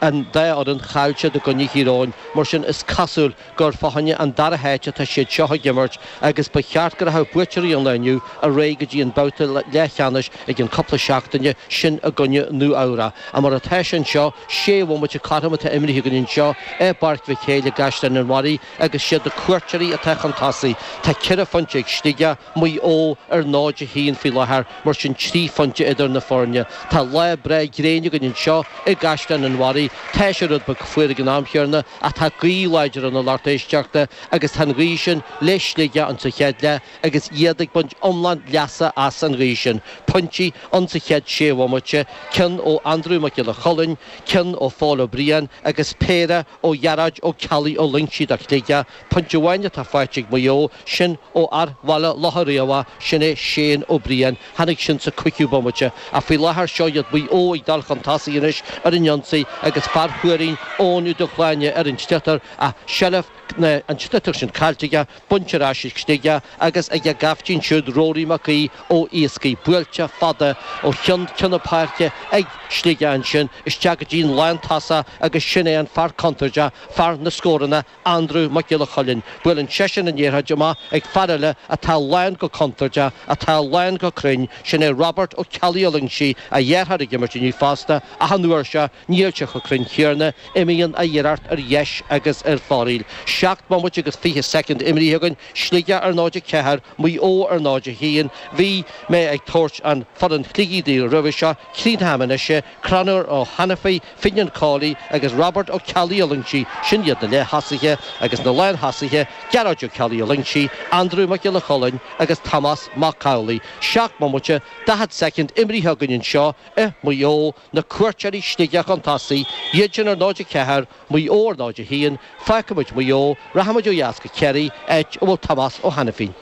An dá fhoireann, chaill siad i gcoinne Thír Eoghain, mar sin is cosúil gur fá choinne an dara háit atá siad seo ag imirt agus ba cheart go rachadh buaiteoirí an lae inniu ar aghaidh go dtí an babhta leathcheannais i gcionn cúpla seachtaine, sin i gcoinne Nua Eabhrac. Ach mar atá sé anseo, sé bhomaite cothrom atá imrithe againn anseo i bPáirc Mhic Éil i gCaisleán an Bharraigh agus siad na cuairteoirí atá chun tosaigh. Tá ceithre phointe ag Sligeach, Maigh Eo ar 0-1 faoi láthair, mar sin 3 phointe idir na foirne. Tá lá breá gréine againn anseo i gCaisleán an Bharraigh. Tá sé rud beag fuar ag an am chéanna ach tá gaoth láidir ann a lucht éisteachta agus tá an ghaoth sin le Sligeach insa chéad leath agus iad ag baint iomlán leasa as an ghaoth sin. Pointí insa chéad sé bhomaite, ceann ó Andrew Mac Giolla Chulainn, ceann ó Phól Ó Briain agus péire ó Ghearóid Ó Ceallaigh Ó Loingsigh do Shligeach. Pointe amháin atá faighte ag Maigh Eo, sin ó fhear Bhaile Locha Riabhach, sin é Shane Ó Briain. Tháinig sin sa cúigiú bomaite. Ach faoi láthair seo iad Maigh Eo ag dul chun tosaigh anois ar an ionsaí agus fear Thuairín, Eoin Ó Dubhshláine ar an sliotar ach seilbh an tsliotair sin caillte aige, bainte ar ais ag Sligeach agus ag a gcaiftín siúd Rory Mac Aoidh ó Iascaigh. Buailte fada ó cheann ceann na páirce ag Sligeach ansin isteach go dtí an lántosach agus sin é an fear contúirteach, fear na scóranna, Andrew Mac Giolla Chuilinn. Buaileann seisean an liathróid amach ag fear eile atá lán go contúirteach, atá lán go cruinn, sin é Robert Ó Ceallaigh Ó Loingsigh, a dheartháir ag imirt inniu fosta, ach an uair seo níl sé chomh cruinn céanna, imíonn a iarracht ar dheis agus ar foraíl. 7 mbomaite agus 20 soicind imrithe againn, Sligeach ar 0-4, Maigh Eo ar 0-1. Bhí mé ag tabhairt an foireann Shligigh daoibh roimhe seo, críochnóidh mé anois é, Conor Ó hAiniféin, Finian Cawley agus Robert Ó Ceallaigh Ó Loingsigh, sin iad na leath-thosaithe, agus na lán-thosaithe, Gearóid Ó Ceallaigh Ó Loingsigh, Andrew Mac Giolla Chulainn agus Tomás Mac Amhlaigh. 7 mbomaite, 40 soicind imrithe againn anseo i Maigh Eo, na cuairteoirí Sligeach chun tosaigh, iad sin ar 0-4, Maigh Eo ar 0-1, Fágfaimid Maigh Eo, rachaimid ó dheas go Ciarraí, áit a bhfuil Tomás Ó hAiniféin.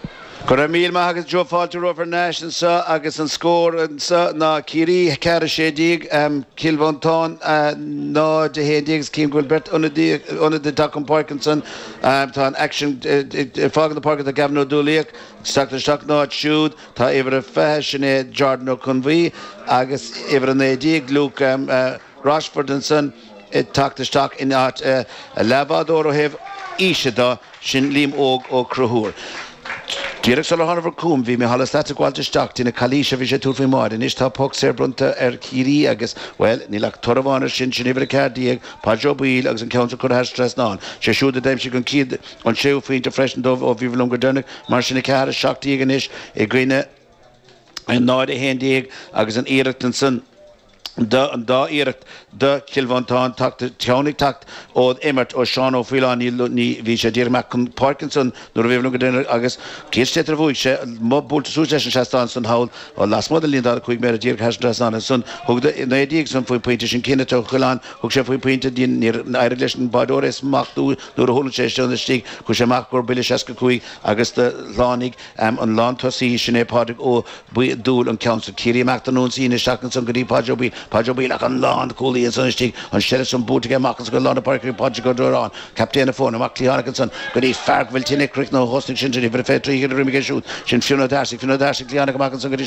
Go raibh míle maith agat Joe Fáilte romhat thar n-ais anseo agus an scór anseo ná Ciarraí 4 16, Cill Mhantáin 0 11 agus cím go bhfuil beirt ionadaí ag teacht chun páirce ansan. Tá an aicsean ag fágaint na páirce tá Gavin Ó Dúlaíoch ag teacht isteach ina áit siúd. Tá uimhir a 20 sin é Jordan Ó Conbhuí agus uimhir a 19 Luke Rochford ansan ag teacht isteach in áit a leathbhádóir ó thaobh aoise de, sin Liam Óg Ó Conchúir. Díreach sular thánabhair chugam bhí Micheál Ó Slatara ag gabháilt isteach dtí na calaoise a bhí sé ag tabhairt faoin mbáide. Anois tá poc saor bronnta ar Chiarraí agus, bhuel, níl ach toradh amháin air sin, sin uimhir 14, Páid Ó Baoill agus an ceann sin curtha thar an trasnán. Sé siúd a d'aimsigh an chéad, an séú phointe freisin dóibh ó bhí liom go deireanach, mar sin 4, 17 anois i gcoinne 0, 11 agus an iarracht ansan. an dá iarracht do Chill Mhantáin teacht, ceann ag teacht ó imirt ó Seán Ó Faoláin, ní, bhí sé díreach amach chun páirce ansan nuair a bhí liom go deireanach agus cén sliotar a bhuaigh sé, amuigh buailte suas leis an seastán san thall lasmuigh den líne 45 méadar díreach thar an trasnán ansan thug 19 san faoin pointe sin Kenneth Ó Coileáin thug sé faoin pointe níor éirigh leis an báireoir é smachtú nuair a thuirling sé istigh chuaigh sé amach go buille 65 agus do shlánaigh an lántosaí sin é Pádraig Ó Dúill an ceann san. Ciarraí amach don ionsaí anois isteach ansan go dtí Páidí Ó Baoill. Páidí Ó Baoill ach an lánchúlaí ansan istigh. An seilbh san buaite aige amach ansan go lár na páirce chuig Pádraig Ó Dúráin. Captaen na foirne. Amach cliathánach ansan go dtí fear go bhfuil tine ag croitheadh nó thosnaigh sin sin uimhir a 23 ar imigh é siúd. Sin Fionn Ó Dearsaigh. Fionn Ó Dearsaigh cliathánach amach ansan go dtí.